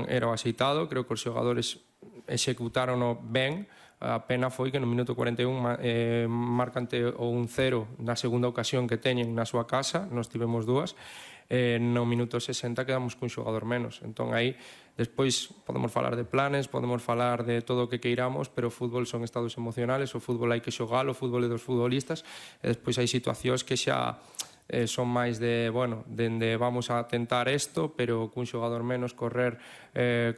era o axeitado, creo que os xogadores executaron ben. A pena foi que no minuto 41 marcante o 1-0 na segunda ocasión que teñen na súa casa, nós tivemos dúas, no minuto 60 quedamos cun xogador menos. Entón aí, despois podemos falar de planes, podemos falar de todo o que queiramos, pero o fútbol son estados emocionales, o fútbol hai que xogalo, o fútbol é dos futbolistas, e despois hai situacións que xa son máis de, bueno, dende vamos a tentar isto, pero cun xogador menos correr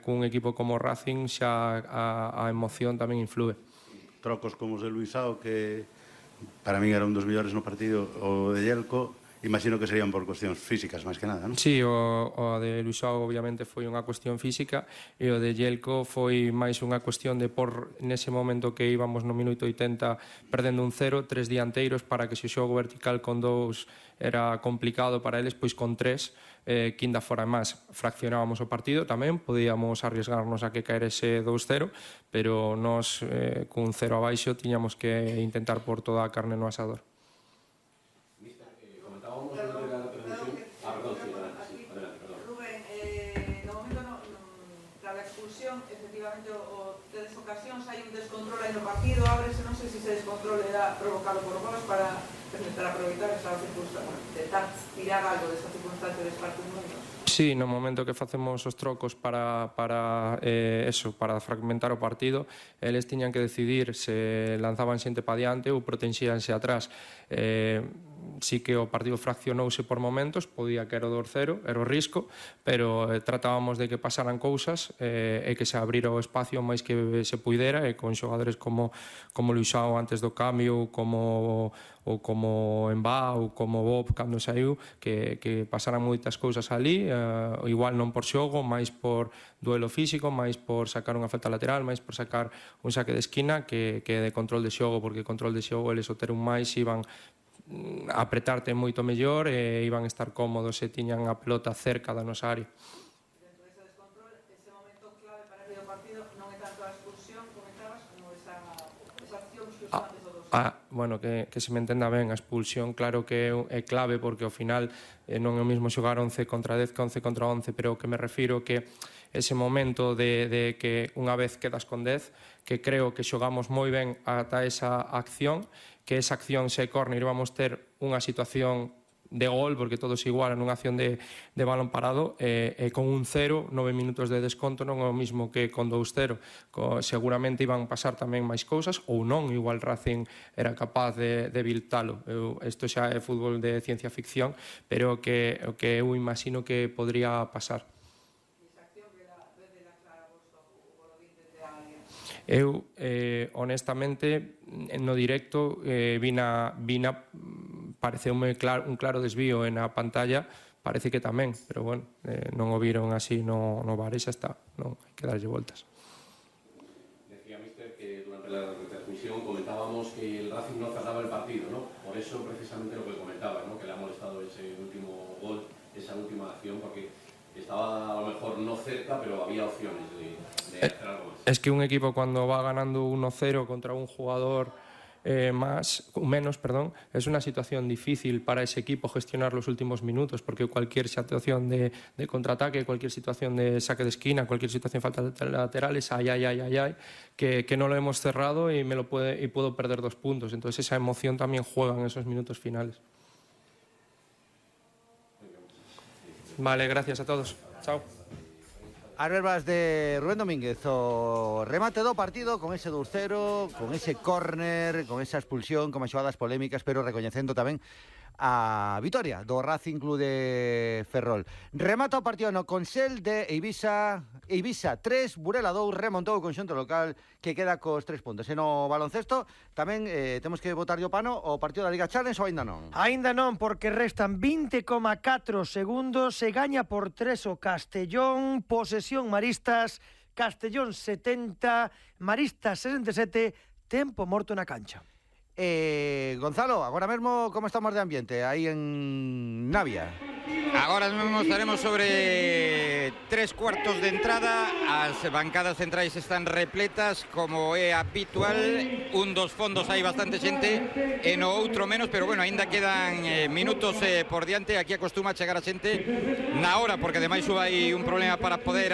cun equipo como Racing xa a emoción tamén influe. Trocos como os de Luisao, que para min era un dos mellores no partido, o de Yelko, imagino que serían por cuestións físicas, máis que nada, non? Sí, o de Luisao obviamente foi unha cuestión física e o de Yelko foi máis unha cuestión de por nese momento que íbamos no minuto 80 perdendo un 0, 3 dianteiros para que se o xogo vertical con 2 era complicado para eles, pois con 3 quinda fora máis fraccionábamos o partido tamén, podíamos arriesgarnos a que caerese 2-0, pero nós cun 0 abaixo tiñamos que intentar por toda a carne no asador. Efectivamente, o tedes ocasións, hai un descontrol aí no partido, ábrese, non sei se ese descontrol era provocado por goles para intentar aproveitar esa circunstancia, intentar tirar algo desa circunstancia de partes momentos. Sí, no momento que facemos os trocos para fragmentar o partido, eles tiñan que decidir se lanzaban xente pa diante ou protexíanse atrás. Sí que o partido fraccionouse por momentos, podía que era o 2-0, era o risco, pero tratábamos de que pasaran cousas e que se abrira o espacio máis que se puidera, e con xogadores como Luisao antes do cambio, como Embá ou como Bob cando saiu, que pasaran moitas cousas ali, igual non por xogo, máis por duelo físico, máis por sacar unha falta lateral, máis por sacar un saque de esquina que de control de xogo, porque control de xogo eles o ter un máis iban apretarte moito mellor e iban a estar cómodos e tiñan a pelota cerca da nosa área. Dentro dese descontrol, ese momento clave para o partido non é tanto a expulsión, comentabas, como esa acción xusto antes do 2. Bueno, que se me entenda ben, a expulsión claro que é clave porque ao final non é o mismo xogar 11 contra 10 que 11 contra 11, pero o que me refiro que ese momento de que unha vez quedas con 10, que creo que xogamos moi ben ata esa acción, que esa acción se córner e vamos ter unha situación de gol, porque todos igualan nunha acción de balón parado, e con un 0, 9 minutos de desconto non é o mismo que con 2-0. Seguramente iban pasar tamén máis cousas, ou non, igual Racing era capaz de eviltalo. Isto xa é fútbol de ciencia ficción, pero o que eu imagino que podría pasar. Eu, honestamente, no directo vina pareceume un claro desvío na pantalla, parece que tamén, pero bueno, non o viron así no VAR e xa está, non hai que darlle voltas. Decía Míster que durante la retransmisión comentábamos que el Racing no cerraba el partido, ¿no? Por eso precisamente lo que comentaba, ¿no? Que le ha molestado ese último gol, esa última acción, porque estaba a lo mejor no cerca, pero había opciones de hacer algo más. Es que un equipo cuando va ganando 1-0 contra un jugador menos, es una situación difícil para ese equipo gestionar los últimos minutos, porque cualquier situación de contraataque, cualquier situación de saque de esquina, cualquier situación de falta laterales, que no lo hemos cerrado y puedo perder 2 puntos. Entonces esa emoción también juega en esos minutos finales. Vale, gracias a todos. Chao. As verbas de Rubén Domínguez, o remate do partido con ese 2-0, con ese córner, con esa expulsión, con as xogadas polémicas, pero recoñecendo tamén a vitoria do Racing Club de Ferrol. Remata o partido no Consell de Eivisa 3, Burela 2, remontou o conxunto local que queda cos 3 puntos. E no baloncesto tamén temos que botar o pano o partido da Liga Challenge ou aínda non? Aínda non, porque restan 20,4 segundos, se gaña por 3 o Castellón, posesión Maristas, Castellón 70, Maristas 67, tempo morto na cancha. Gonzalo, agora mesmo como estamos de ambiente aí en Navia? Agora mesmo estaremos sobre 3/4 de entrada. As bancadas centrais están repletas, como é habitual. Un dos fondos hai bastante xente e no outro menos, pero bueno, aínda quedan minutos por diante. Aquí acostuma a chegar a xente na hora, porque ademais hai un problema para poder